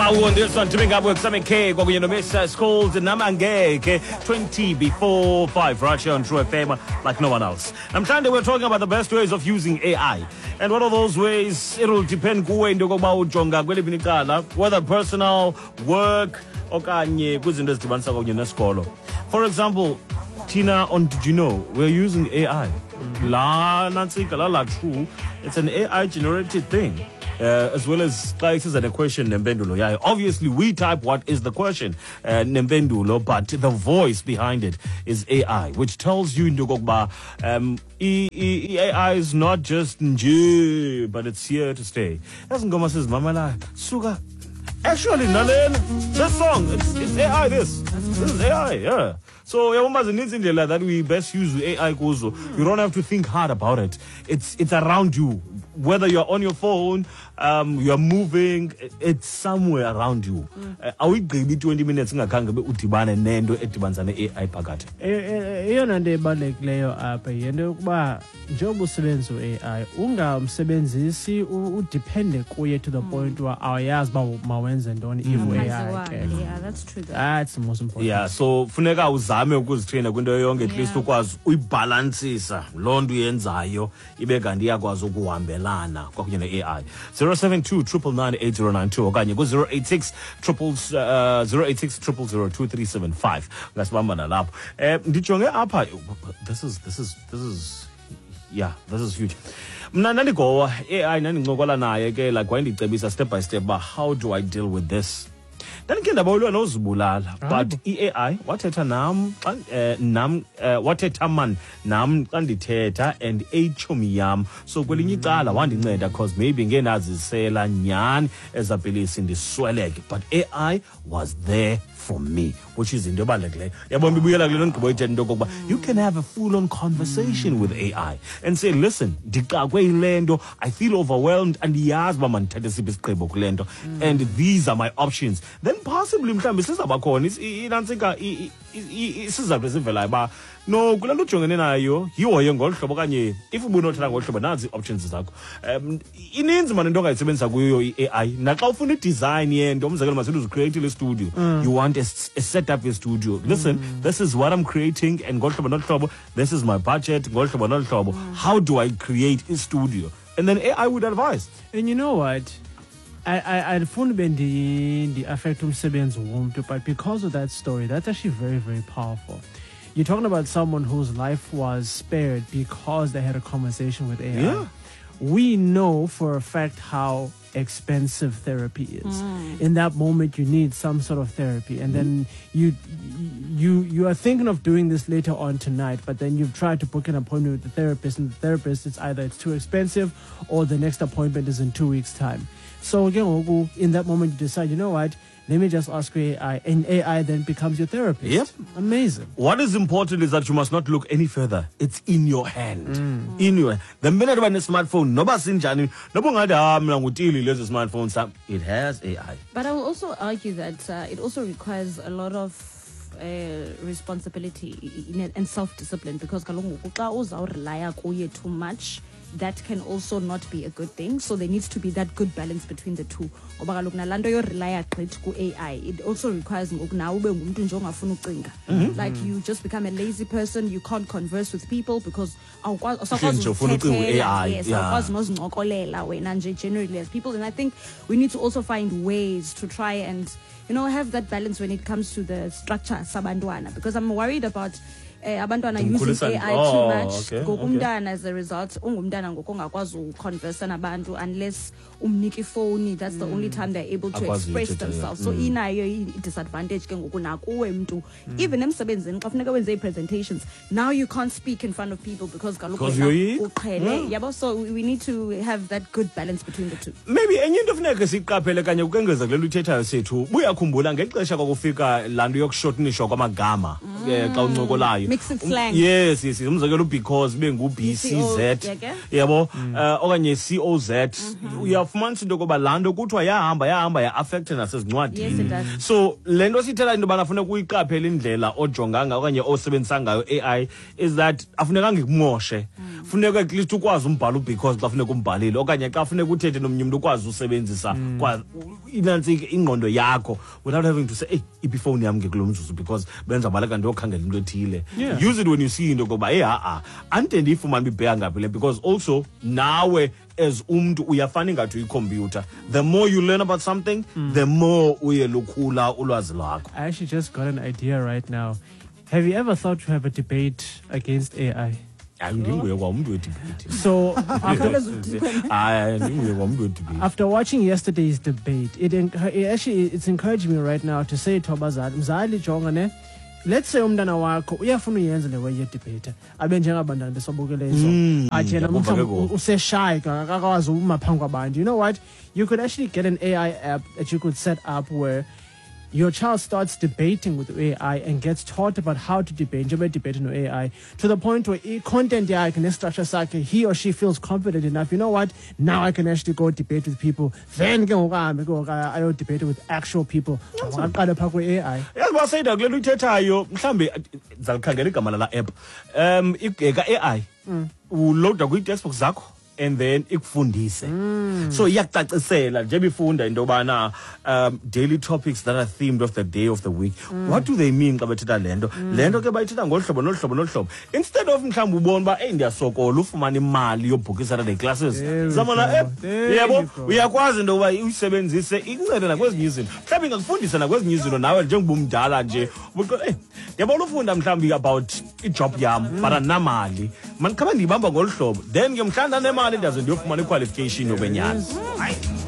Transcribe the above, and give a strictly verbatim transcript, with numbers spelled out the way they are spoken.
Sawu on this one, teaming up with Sammy K, kwakunye noMr. It's called Namangeke, twenty before five, right here on True F M, like no one else. Namhlanje we're talking about the best ways of using A I. And one of those ways, it'll depend kuwe into yokokuba ujonga kweliphi icala, whether personal, work, okanye kwizinto ezidibanisa kunye nesikolo. For example, thina on Did You Know, we're using A I. La nantsika la la true, it's an A I generated thing. Uh, as well as xa isiza ne-question nempendulo yayo. Obviously, we type what is the question uh, nempendulo, but the voice behind it is A I, which tells you into yokokuba um, i- i- i- A I is not just nje, but it's here to stay. Ezi ngoma sizimamelayo suka. Actually, nalena, this song, it's, it's A I this. This is A I, yeah. So yabona zininzi indlela that we best use A I kuzo. You don't have to think hard about it. It's it's around you. Whether you're on your phone, um, you're moving, it's somewhere around you. Uh, Awuyigqibi twenty minutes ingakhange ube udibane nento edibanisa ne-A I phakathi. E- e- eyona nto ebalulekileyo apha yinto yokuba njengoba usebenzisa u-A I, ungamsebenzisi u- udepende kuye to the point uba awuyazi uba mawenze ntoni if u-A I Aziwa. ke. Yeah, that's true though. That's the most important. Yeah, so funeka uzame ukuzitraina kwinto yonke, at least Yeah. ukwazi uyibhalansisa loo nto uyenzayo ibe kanti iyakwazi ukuhambelana kwakunye ne-A I. zero seven two nine nine nine eight zero nine two okanye ku-zero eight six triple uh, zero eight six zero zero two three seven five, ungasibamba nalapho. um ndijonge apha, this is this is this is yeah, this is huge. Mna ndandigowa A I, ndandincokola naye ke, like wayendicebisa step by step uba how do I deal with this. Ndandikhe ndabawelwa nozibulala, but i-A I wathetha nam xa eh, nam eh, wathetha man nam xa ndithetha and eyitshomi yam, so kwelinye icala wandinceda, 'cause maybe ngendazisela nyhani ezaa pilisi ndisweleke, but A I was there for me, which is into ebalulekileyo. Yabona, ibuyela kule nto ndigqiba uyithetha, into yokokuba you can have a full on conversation with A I and say, "Listen, ndixakwe yile nto, I feel overwhelmed, andiyazi uba mandithathe siphi isigqibo kule nto, and these are my options." Then possibly mhlawumbi sizawuba khona is- i- inantsika i- i- i- isizathu esivelayo uba no, kule nto ujongene nayo yihoye ngolu hlobo, okanye if ubunothatha ngolu hlobo, nazi ii-options zakho. um ininzi mani into ongayisebenzisa kuyo i-A I, naxa ufuna idesign yento, umzekelo, masithi uzicreatile istudio, you want a, s- a setup yestudio. "Listen, this is what I'm creating, and ngolu hlobo nolu hlobo, this is my budget, ngolu hlobo nolu hlobo, how do I create istudio?" And then A I would advise. And you know what? I, I, andifuni ube ndi- ndi-affect umsebenzi womntu, but because of that story, that's actually very, very powerful. You're talking about someone whose life was spared because they had a conversation with A I. Yeah. We know for a fact how expensive therapy is. In that moment, you need some sort of therapy, and then you you you are thinking of doing this later on tonight, but then you've tried to book an appointment with the therapist, and the therapist, it's either it's too expensive or the next appointment is in two weeks' time. So again, ngoku, in that moment, you decide, "You know what? Let me just ask A I," and A I then becomes your therapist. Yep. Amazing. What is important is that you must not look any further. It's in your hand. In your the minute uba ne-smartphone, noba sinjani, noba ungathi, "Ah, mna ngutili lezi smartphone sam," it has A I. But I will also argue that uh, it also requires a lot of uh, responsibility in it and self-discipline, because kaloku ngoku xa uzawurelya kuye too much, that can also not be a good thing. So there needs to be that good balance between the two, ngoba kaloku nalaa nto yorelya gqithi ku-A I, it also requires ngoku nawe ube ngumntu nje ongafuni ucinga, like you just become a lazy person, you can't converse with people because awukwazi, awusakwazi Nje ufuna ucinga uzithethela. u-A I, Yes, yeah. awukwazi nozincokolela wena nje generally as people. And I think we need to also find ways to try and you know have that balance when it comes to the structure sabantwana, because I'm worried about uh, abantwana using Umkhulisa- A I Oh, too much. okay, Ngoku okay. umntana, as a result, ungumntana ngoku ongakwazi uconversa nabantu unless umnika ifowuni. That's the only time they're able to Akwazi express uthetha, yeah. themselves. So inayo i-disadvantage ke ngoku nakuwe mntu, even emsebenzini xa funeka wenze ii-presentations, now you can't speak in front of people because kaloku Because wena uyoyika. uqhele, yabo. So we we need to have that good balance between the two. Maybe enye into funeka siyiqaphele kanye ukengeza kule nto uyithethayo sethu, buyakhumbula ngexesha kwakufika laa nto yokushortenishwa kwamagama eh, xa uncokolayo? Mixed slang. yes yes yes. Umzekelo, because ibe ngu-B C Z, B C O, yeah, ke? yabo, eh, okanye C O Z. Uyaf Uzawufumanisa into yokoba laa nto kuthiwa yahamba yahamba ya-affecta Yes, nasezincwadini. it does. So le nto siyithetha into yobana funeka uyiqaphele indlela ojonga ngayo okanye osebenzisa ngayo A I is that afunekanga ikumoshe. Funeka at least ukwazi umbhala because xa funeka umbhalile okanye xa funeka uthethe nomnye umntu ukwazi usebenzisa kwa inantsi ingqondo yakho without having to say, "Hey, iphi ifowuni yam ke kulo mzuzu because bendizabaleka ndiyokhangela into ethile." Yeah. Use it when you see into yokoba hey, ha-a andide ndiyifumane uba ibheka ngaphi le, because also nawe as umntu uyafana ingathi uyikhompyutha. The more you learn about something, the more uye lukhula ulwazi lwakho. I actually just got an idea right now. Have you ever thought to have a debate against A I? Hayi, ndinguye kwa umntu wedebate. So after, Hayi, ndinguye kwa umntu wedebate. After watching yesterday's debate, it, enc- it actually it's encouraging me right now to say to abazali, mzali, jonga ne, let's say umntana wakho uyafuna uyenza le way yedebate, abe njengabantwana besabukele izolo, athi yena Ndiyakuva ke mhlawumbi ngoku. Useshy, akakwazi uma phambi kwabantu. You know what? You could actually get an A I app that you could set up where your child starts debating with A I and gets taught about how to debate, njengoba debate no-A I, to the point where i-content yakhe ne-structure sakhe, he or she feels confident enough. You know what? Now I can actually go debate with people. Then ke ngoku ahambe ke ngoku ayo-debate with actual people. Aqale phaa kwi-A I. Yazi uba seyida kule nto uyithethayo, mhlawumbi ndizalikhangela igama lala app um eka-A I uloada kwii-textbook zakho and then ikufundise. So iyakucacisela njengoba ifunda into yobana um daily topics that are themed of the day of the week, what do they mean xa bethetha le nto, le nto ke bayithetha ngolu hlobo nolu hlobo nolu hlobo, instead of mhlawumbi ubone uba eyi, ndiyasokola ufumana imali yobhukha i-Saturday classes. There we Zama la go. app. There Yebo, you go. Uyakwazi into yokuba uyisebenzise ikuncede nakwezinye izinto, mhlawumbi ingakufundisa nakwezinye izinto nawe njengoba umdala nje ubuqo- eh ndiyabona ufunda mhlawumbi about ijob yam, but andinamali, mandikhabe ndiyibamba ngolu hlobo, then ke mhlawumbi ndanemali ndiyaze ndiyofumana iqualification yokwenyani. Hayi.